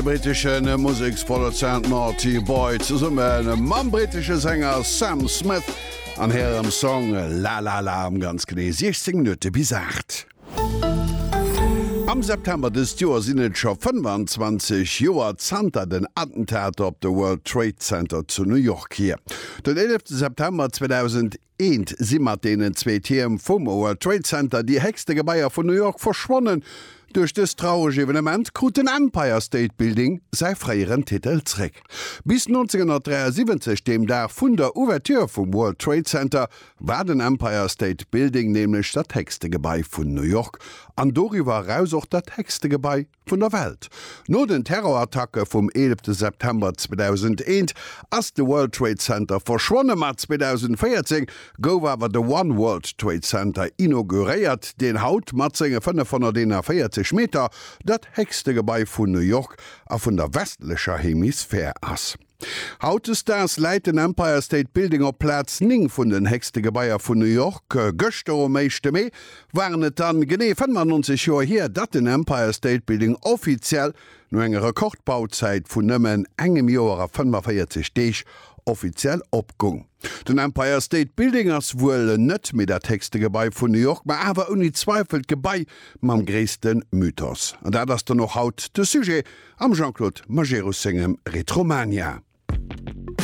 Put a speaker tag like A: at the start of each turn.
A: De brittesche Museksproduzent Naughty Boy zesumme mam brittesche Sänger Sam Smith an hirem Song La La La um ganz genee 16 Minutte bis 8. Am September dëst Joer sinn et scho 25 Joer zanter den Attentater op de World Trade Center zu New York hier. Den 11 September 2001 si mat deenen zwee Tierm vum World Trade Center déi héchste Gebaier vun New York verschwonnen. Duerch dëst traureg Evenement krut den Empire State Building säi fréieren Titel zréck. Bis 1973, deem Dag vun der Ouverture vum World Trade Center, war den Empire State Building nämlech dat héchste Gebai vun New York an doriwwer eraus och dat héchste Gebai vun der Welt. No den Terrorattacke vum 11 September 2001 ass de World Trade Center verschwonne, ma 2014 gouf awer de One World Trade Center inauguréiert, deen haut mat senge 541 Meter dat héchste Gebai vun New York a vun der westlecher Hemisphär ass. Hautdesdaags läit den Empire State Building op Plaz 9 vun den héchste Gebaier vun New York. Gëschter um éischte Mee waren et dann genee 95 Joer hier, datt den Empire State Building offiziell no enger Rekordbauzäit vun nëmmen engem Joer a 45 Deeg offiziell opgung. Den Empire State Building ass wuel net méi dat héchste Gebai vun New York, ma awer ouni Zweifel d'Gebai mam gréisste Mythos. An dat ass dann och haut de Sujet am Jean-Claude Majerus sengem Retromania.